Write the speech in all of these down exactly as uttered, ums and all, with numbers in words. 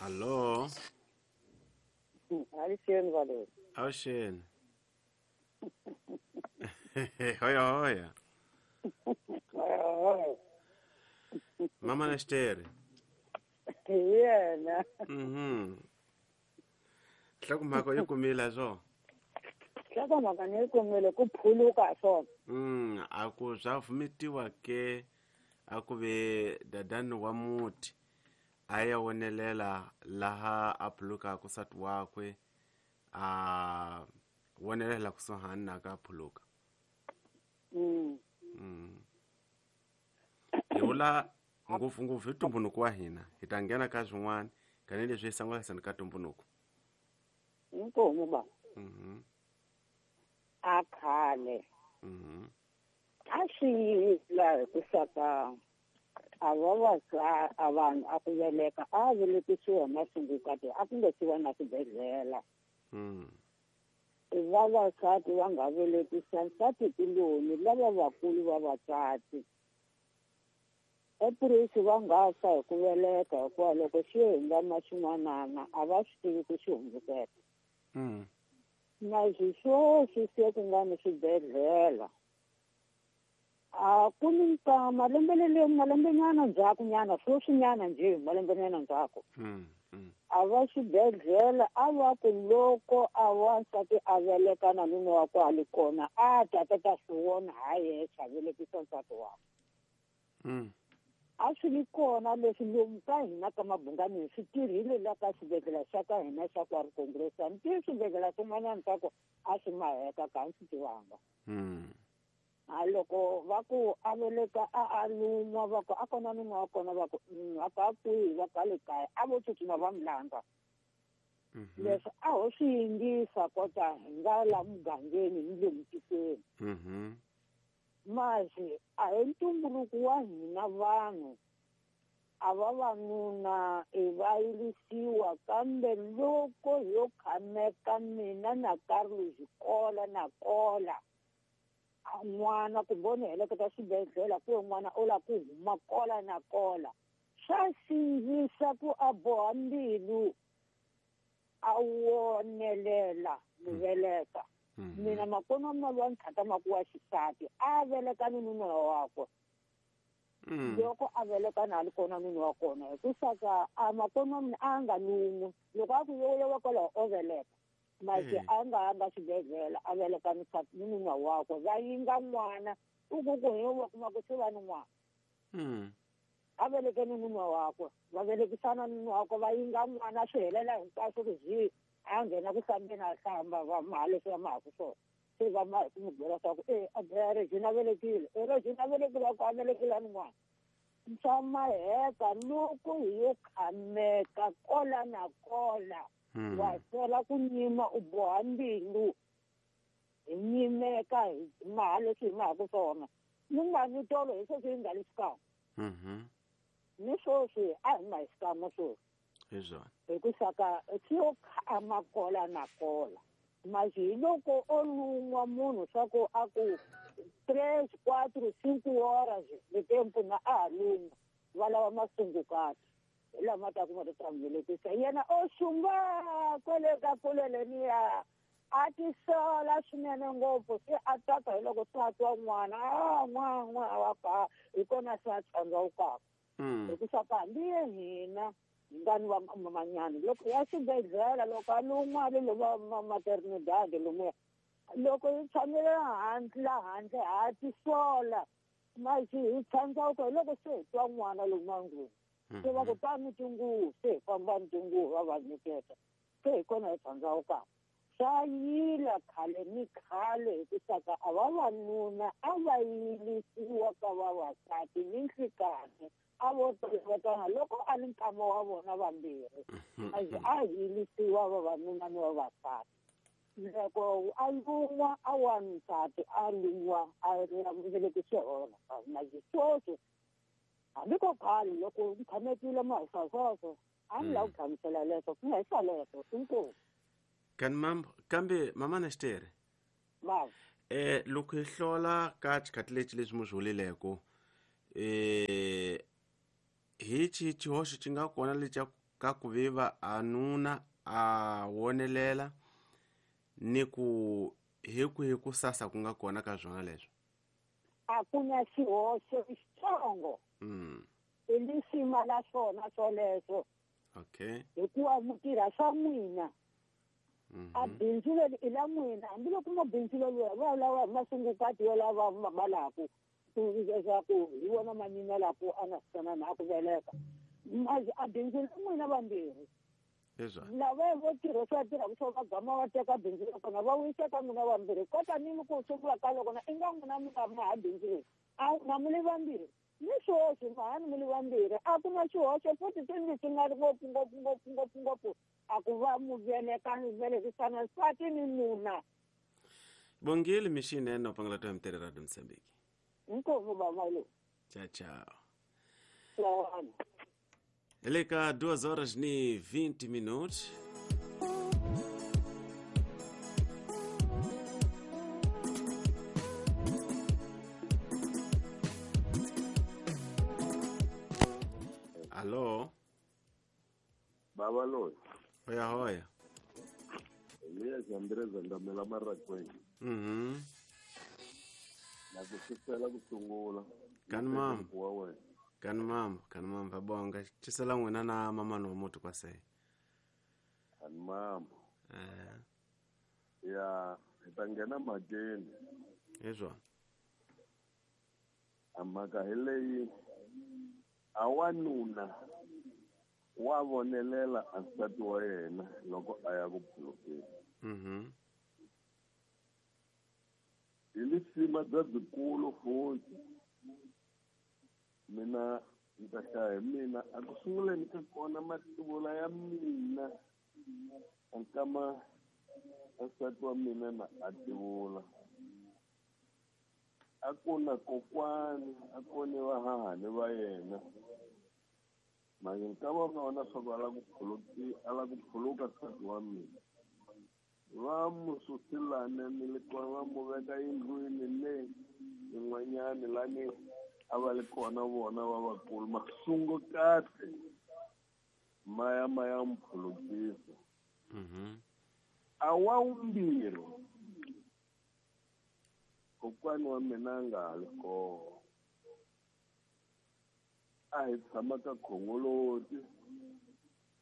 Allo. Avuxeni Valeri. Avuxeni. Hoya hoya. Mama Nesteri. Yena. Mhm. Nhlokomhaka yi kumile swo. Nhlokomhaka ni yi kumile ku phuluka swona. Mm, a ku swa vumetiwa ke a ku ve dadani wa muti a ya wonelela laha a phulukaka nsati wakwe a wonelela kusuhani na ka phuluka. Mm. Mm. Hi vula ngopfungopfu hi ntumbuluko wa hina hi ta nghena ka swin'wana tanihileswi hi sangulasani ka ntumbuluko. Inkomu ba. Mhm. A khale. Mhm. A swi yila hi ku saka a vavasa a vanhu a ku veleka a velekisiwa masungukati a ku nga si va na swibedhlele. Mm. Vavasati va nga velekisa nsati kuloni lava vakulu vavasati. Epurisi va nga fa hi ku veleka hikuva loko xi hungama xin'wanana a va swi tivi ku xi hundzukela. Mm. Na sweswi se ku nga ni swibedhlele. A ku ni nkama lembe leri malembenyana ndzhakunyana sweswinyana njhe malembenyana ndzhaku. Mm. Mm. A va xibedhlele a va ku loko a wansati a veleka na nuna wa ku a li kona a ta ta ta swi vona ha yexe a velekisa nsati wakwe. Mm. A swi li kona leswi lomu ka hina ka Mabungani swi tirhile la ka xibedhlele xa ka hina xa kwa Congress. A ni tivi swibedhlele swin'wanyana swa ku a swi maheka ka a ni swi tivanga. Mm. A loko va ku a veleka a a lun'wa va ku a kona nuna wa kona va ku a ka kwihi va ka le kaya a vo tsutsuma va mi landza. Mhm. Leswi a ho swi yingisa kota hi nga la mugangeni ni le mutikweni. Mhm. Masi a hi ntumbuluko wa hina vanhu a vavanuna i va yirisiwa kambe loko yo khameka mina na Carlos kola na kola n'wana kumbe u ni heleketa xibedhlele ku n'wana u lava ku huma kola na kola swa sindzisa ku a boha mbilu a wonelela muveleka. Mina makona ma ntlhata maku wa xisati a veleka ni nuna wakwe. Loko a veleka na ali kona nuna wa kona hi ku saka a makona mina a nga lun'wi loko a ku yo wa kwalaho o veleka masi a nga nga xibedhlele a veleka ni ni nuna wakwe va yinga n'wana u ku ku hi wa kuma ku se va ni n'wana. A veleke ni nuna wakwe va velekisana ni nuna wakwe va yinga n'wana swi helela hinkwaswo ku zi a nghena ku hlambeni a hlamba va maha leswi va mahaku swona se va ma hi ku n'wi byela swa ku e a Regina velekile e Regina velekile a ku a velekile ni n'wana. Swa maheka loko hi yo khameka kola na kola wa sela ku nyima u boha mbilu hi nyimeka hi maha leswi hi mahaku swona ni nga ni tolo hi sweswi hi nga le xikan'we. Ni sweswi a hi ma hi xikan'we sweswi. Hi swona. Hi ku saka swi yo khama kola na kola masi hi loko o lun'wa munhu swa ku a ku tres quatro cinco horas de tempo na a ha lun'wa va lava masungukati hi lama ta ku ma ta n'wi velekisa yena o xumba kwele ka kule leniya a tisola swinene ngopfu se a tsaka hi loko se a twa n'wana a n'wa n'wa wa ka hi kona se a tshandzawukaka. Hi ku saka hambi ye hina hi nga ni va mamanyana loko ya xibedhlele loko a lun'wa le va maternidad lomuya loko hi tshamile handle la handle ha tisola masi hi tshandzawuka hi loko se hi twa n'wana lomu ndlwini se va ku tani tinguvu se hi famba ni tinguvu va va nyiketa se hi kona hi tshandzawukaka. Swa yila khale ni khale hi ku saka a vavanuna a va yilisiwa ka vavasati ni nhlikani a vo tolovekana loko a ni nkama wa vona vambirhi a yilisiwa vavanuna ni vavasati. Loko a lun'wa a wansati a lun'wa a velekisiwa vavasati masi sweswi hambi ko khale loko ni tshamekile mahisa sweswo a ni lava ku hlamusela leswo ku nga hisa leswo inkomu. Kani mambo kambe mama Nesteri ma eh loko hi hlola ka xikhathi lexi leswi mu swi vulileko eh hi xihi xihoxo xi nga kona lexi ka ku viva a nuna a wonelela ni ku hi kwihi ku sasa ku nga kona ka swona leswo? A ku na xihoxo xitsongo. Mm. I lisima la swona swoleswo. Okay. Hikuva mi tirha swa n'wina. Mm-hmm. A bindzu leri i la n'wina, hambiloko mabindzu leriwa va lava masungukati yo lava va laku leswaku hi vona manina laku a nga swi na ku veleka. A bindzu la n'wina vambirhi. Lava vo tirha swa tirha swo va gama va teka bindzu ra kona va wisa ka n'wina vambirhi. Kota ni ku sungula ka loko na i nga n'wina mi nga maha bindzu leri. A na mi li vambirhi. Ni xihoxo mahani mi li vambirhi. A ku na xihoxo futhi swi swi nga ri ngopfu ngopfu ngopfu ngopfu ngopfu. A ku va mu veleka ni velekisana nsati ni nuna. Bongile mixinene no pangela to mtere Radio Mozambique. Inkomu baba lo. Tchau, tchau. Tchau. Eleka duas horas e vinte minutos. Alô? Baba lo. Hoya hoya. Elias Andrés Andamela Marraquén. Mhm. Na kusukela kusungula. Kan mam. Kan mam, kan mam vabonga. Chisela n'wina na mama no mutu kwa sei. Kan mam. Eh. Ya, itangena makeni. Ezwa. Amaka heleyi awanuna wa vonelela nsati wa yena loko a ya ku phulukeni. Mhm. Hi lisima bya byikulu futhi. Mina ndzi ta hlaya hi mina a ku sunguleni ka kona mativula ya mina nkama nsati wa mina na a tivula. A ku na kokwani a ku ni vahahani va yena. Manje nkama wa vona swa ku a lava ku phuluki a lava ku phuluka nsati wa mina. Va mu susilane ni le kona va mu veka yindlwini le yin'wanyani lani a va li kona vona va vakulu masungukati maya maya mphulukisa. Mhm. A wa vumbirhi kokwani wa mina a nga ha li kona. A hi tshama ka Khongoloti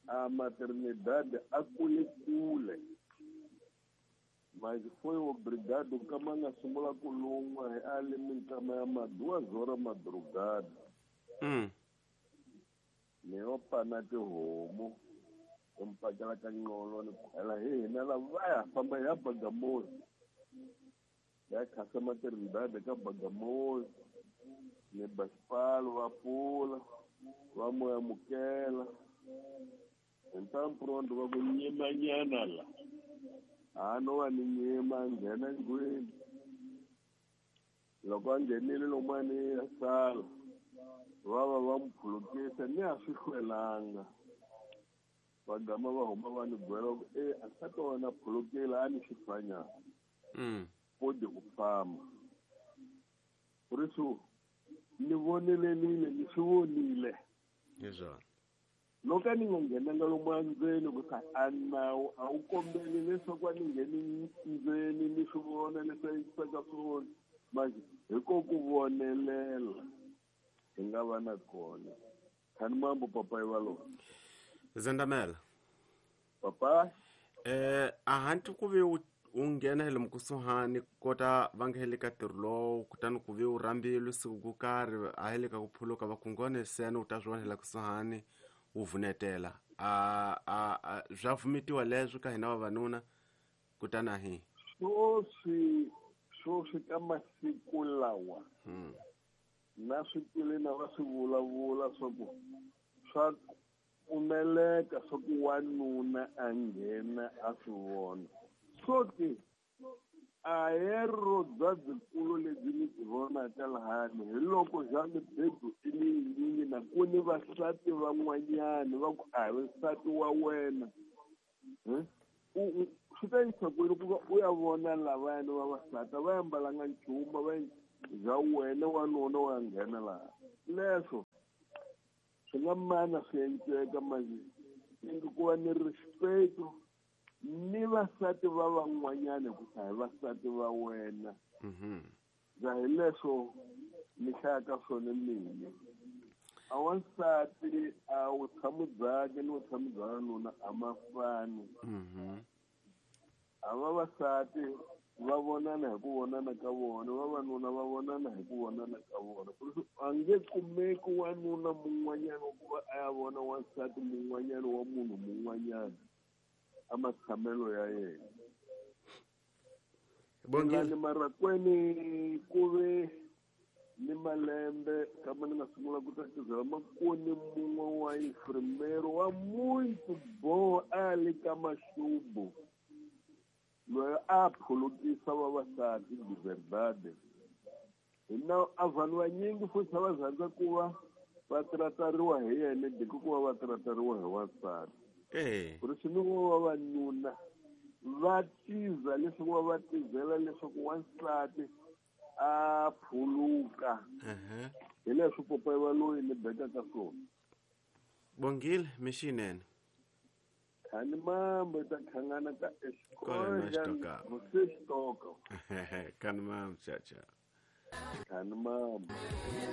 a Maternidad a kule kule. Mas foi obrigado kama nga sungula ku lun'wa hi a le minkama ya ma duas horas madrugada. Mm. Ni yo pana tihomu ni mpakela ka nqolo ni khwela hi hina lava va ya famba ya Bagamoyo. Ya khasa Maternidad ka Bagamoyo. Ni basipalo va pfula va mo amukela. Ntamprondo va ku nyimanyana la. A no va ni nyima nghena ndlwini. Loko a nghenile lomani ya sala va va va mu phulukisa ni a swi hlwelanga. Va gama va huma va ni byela ku e a nsati wa wena phulukile a ni xifanyana. Mm. Kodi ku famba. Por isso ni vonelelile ni swi vonile. Ezwa. Loko a ni nga nghenanga lomu endzeni ku sa a nawu a wu kombeli leswaku a ni ngheni ndzeni ni swi vona leswi a yisaka swona. Manje hi ko ku vonelela hi nga va na kona. Khani mambo papa yi va lona. Zandamela. Papa. Eh a hanti ku ve u nghena hi le mkusuhani kota va nga heli ka ntirho lowu kutani ku ve u rhambile siku ku karhi a heli ka ku phuluka va ku ngone sena u ta swi vona hi la kusuhani u vunetela. A a swa vumitiwa leswi ka hina vavanuna kutani a hi. Swoswi swoswi ka masiku lawa. Mm. Na swi twile na va swi vulavula swa ku swa pfumeleka swa ku wanuna a nghena a swi vona. So ke a hero bya byikulu lebyi ni byi vonaka lahani hi loko bya mibedo i leyinyingi na ku ni vasati van'wanyani va ku a hi nsati wa wena. Swi ta yisa kwini ku va u ya vona lavayani vavasati a va ambalanga nchumu va bya wena wanuna wa nghena laha. Leswo swi nga mana swi endleka manje Ingi ku va ni respect ni vasati va van'wanyana ku hi vasati va wena. Mhm. Bya hi leswo ni hlayaka swona mina. A wansati a vutshamo byakhe ni vutshamo bya wanuna a ma fani. Mhm. A vavasati va vonana hi ku vonana ka vona, vavanuna va vonana hi ku vonana ka vona. A nge kumeki wanuna mun'wanyana wa ku va a ya vona wansati mun'wanyana wa munhu mun'wanyana a matshamelo ya yena. Bongile. Marakweni ku ve ni malembe kama ni nga sungula ku tatizela makoni mun'we wa infirmero wa muito bom a le ka maxubu loyi a phulukisa vavasati de verdade. Hina a vanhu vanyingi futhi a va rhandza ku va va tratariwa hi yena de ku va va tratariwa hi wansati. Eh. Ku ri swi vavanuna va tiza leswaku va va tizela leswaku wansati a phuluka. Uh-huh. Hi leswi popayi va loyi ni bekaka swona. Bongile mixinene. Khani mambo ta khangana ka Kona escola você toca. Khani mambo cha cha. Khani mambo.